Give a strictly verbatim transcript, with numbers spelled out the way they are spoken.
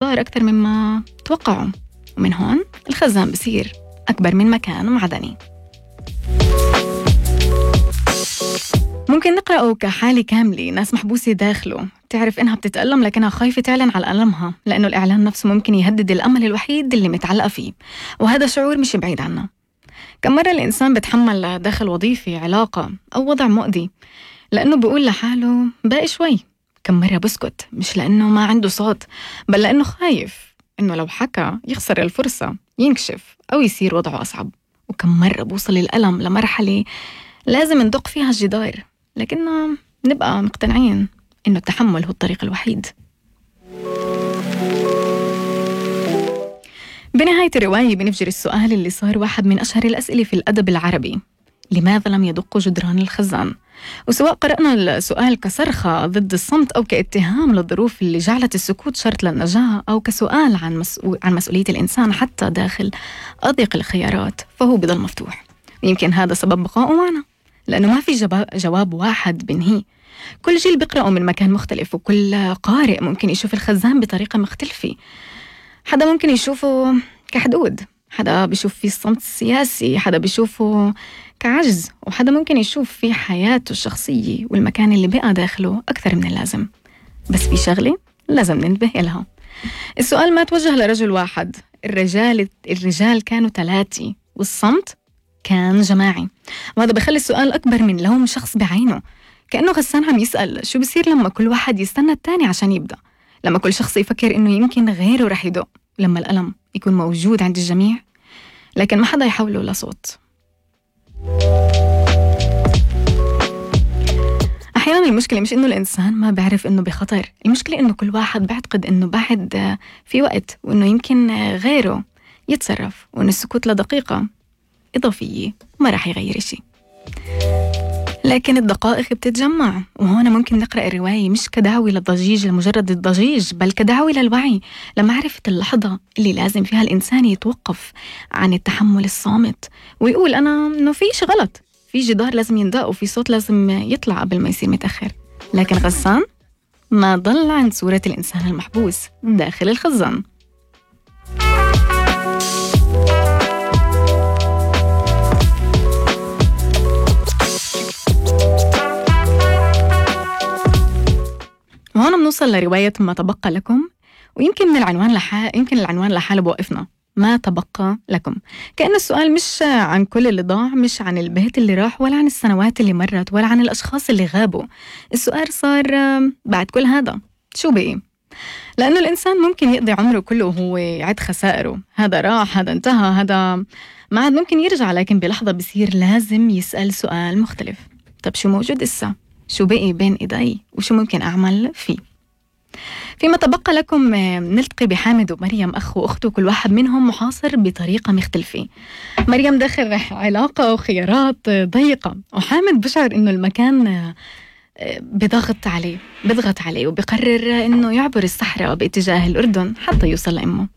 صار أكتر مما توقعوا، ومن هون الخزان بصير أكبر من مكان معدني. ممكن نقرأه كحالة كاملة، ناس محبوسة داخله تعرف إنها بتتألم لكنها خايفة تعلن على ألمها، لأنه الإعلان نفسه ممكن يهدد الأمل الوحيد اللي متعلقة فيه، وهذا شعور مش بعيد عنا. كم مرة الإنسان بتحمل داخل وظيفة، علاقة أو وضع مؤذي لأنه بيقول لحاله باقي شوي. كم مرة بسكت مش لأنه ما عنده صوت، بل لأنه خايف إنه لو حكى يخسر الفرصة، ينكشف أو يصير وضعه أصعب. وكم مرة بوصل الألم لمرحلة لازم ندق فيها الجدار، لكننا نبقى مقتنعين إنه التحمل هو الطريق الوحيد. بنهاية الرواية بنفجر السؤال اللي صار واحد من أشهر الأسئلة في الأدب العربي: لماذا لم يدق جدران الخزان؟ وسواء قرأنا السؤال كصرخة ضد الصمت أو كاتهام للظروف اللي جعلت السكوت شرط للنجاة، أو كسؤال عن, مسؤول عن مسؤولية الإنسان حتى داخل أضيق الخيارات، فهو بضل مفتوح. ويمكن هذا سبب بقائه معنا، لأنه ما في جواب واحد بنهي. كل جيل بيقرأه من مكان مختلف، وكل قارئ ممكن يشوف الخزان بطريقة مختلفة. حدا ممكن يشوفه كحدود، حدا بيشوف فيه الصمت السياسي، حدا بيشوفه كعجز، وحدا ممكن يشوف في حياته الشخصية والمكان اللي بقى داخله أكثر من اللازم. بس في شغلة لازم ننتبه إلها: السؤال ما توجه لرجل واحد، الرجال الرجال كانوا ثلاثة والصمت كان جماعي. وهذا بخلي السؤال أكبر من لوم شخص بعينه، كأنه غسان عم يسأل شو بصير لما كل واحد يستنى التاني عشان يبدأ، لما كل شخص يفكر إنه يمكن غيره رح يدق، لما الألم يكون موجود عند الجميع لكن ما حدا يحوله لصوت. أحيانا المشكلة مش إنه الإنسان ما بعرف إنه بخطر، المشكلة إنه كل واحد بعتقد إنه بعد في وقت، وإنه يمكن غيره يتصرف، وإنه السكوت لدقيقة إضافية ما رح يغير شيء. لكن الدقائق بتتجمع، وهنا ممكن نقرأ الرواية مش كدعوة للضجيج لمجرد الضجيج، بل كدعوة للوعي، لمعرفة اللحظة اللي لازم فيها الإنسان يتوقف عن التحمل الصامت ويقول أنا إنه في شيء غلط، في جدار لازم يندق، وفي صوت لازم يطلع قبل ما يصير متأخر. لكن غسان ما ضل عند صورة الإنسان المحبوس داخل الخزان. وهنا بنوصل لرواية ما تبقى لكم، ويمكن من العنوان لحال يمكن العنوان لحاله بوقفنا: ما تبقى لكم. كأن السؤال مش عن كل اللي ضاع، مش عن البيت اللي راح، ولا عن السنوات اللي مرت، ولا عن الأشخاص اللي غابوا. السؤال صار بعد كل هذا شو بقي؟ لأنه الإنسان ممكن يقضي عمره كله وهو يعد خسائره، هذا راح، هذا انتهى، هذا ما عاد ممكن يرجع، لكن بلحظة بصير لازم يسأل سؤال مختلف: طب شو موجود إسا؟ شو بقي بين إيدي؟ وشو ممكن أعمل فيه؟ فيما تبقى لكم نلتقي بحامد ومريم، أخ وأخته، كل واحد منهم محاصر بطريقة مختلفة. مريم داخل علاقة وخيارات ضيقة، وحامد بشعر إنه المكان بضغط عليه بضغط عليه وبقرر إنه يعبر الصحراء باتجاه الأردن حتى يوصل لأمه.